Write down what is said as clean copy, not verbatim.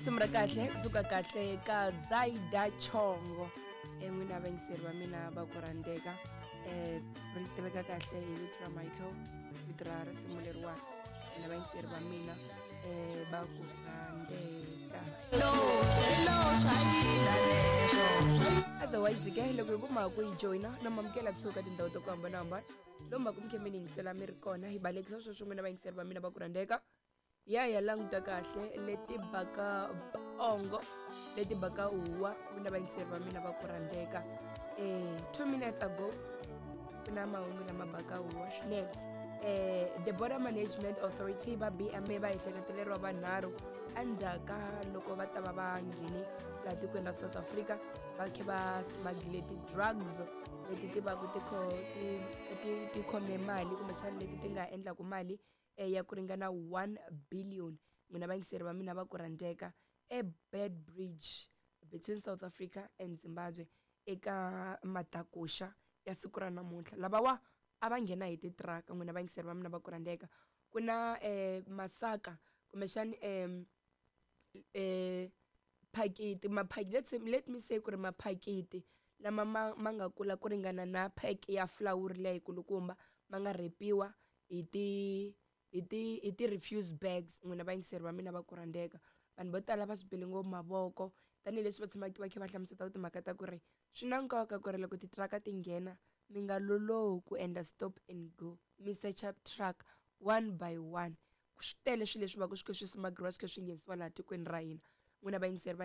Risimu ra kahle kusuka kahle ka Zaida Chongo, n'wina vayingiseri va mina va ku rhandzeka, ri tiveka kahle hi vito ra Michael, vito ra risimu leriwani, n'wina vayingiseri va mina va ku rhandzeka. Otherwise ke loko hi kuma ku yi joyina no mamukela kusuka tindhawu ta ku hambanahambana lomu va ku mi khe mi ni yingisela mi ri kona, hi balekisa sweswo n'wina vayingiseri va mina va ku rhandzeka. Ya ya languta kahle leti baka pongo, leti baka huwa, n'wina vayingiseri va mina va ku rhandzeka. 2 minutes ago ku na mahungu lama baka huwa swinene. The Border Management Authority va BMA va ehleketeleriwa vanharhu endzhaku ka loko va ta va va ngheni laha tikweni ra South Africa, va khe va smuggle ti-drugs leti ti va ku ti khome mali kumbexana leti ti nga endlaku mali ya ku ringana 1 billion. N'wina vayingiseri va mina va ku rhandzeka, eBeitbridge between South Africa and Zimbabwe eka matakuxa ya siku ra namuntlha, lavawa a va nghena hi titiraka. N'wina vayingiseri va mina va ku rhandzeka, ku na masaka kumbexani phakiti maphakiti, let's say, let me say ku ri maphakiti lama ma nga kula ku ringana na pack ya flour leyi kulukumba, ma nga rhepiwa hi ti hi ti hi ti refuse bags. N'wina vayingiseri va mina va ku rhandzeka, vanhu vo tala va swi bele ngopfu mavoko tanihileswi va tshamaka va kha va hlamusela timhaka ta ku ri swi na nkoka ku ri loko titiraka ti nghena mi nga lolohi ku endla stop and go, mi search-a truck one by one. Swi tele swilo leswi va ku swi kha swi smuggliwa, swi kha swi nghenisiwa laha tikweni ra hina, n'wina vayingiseri va.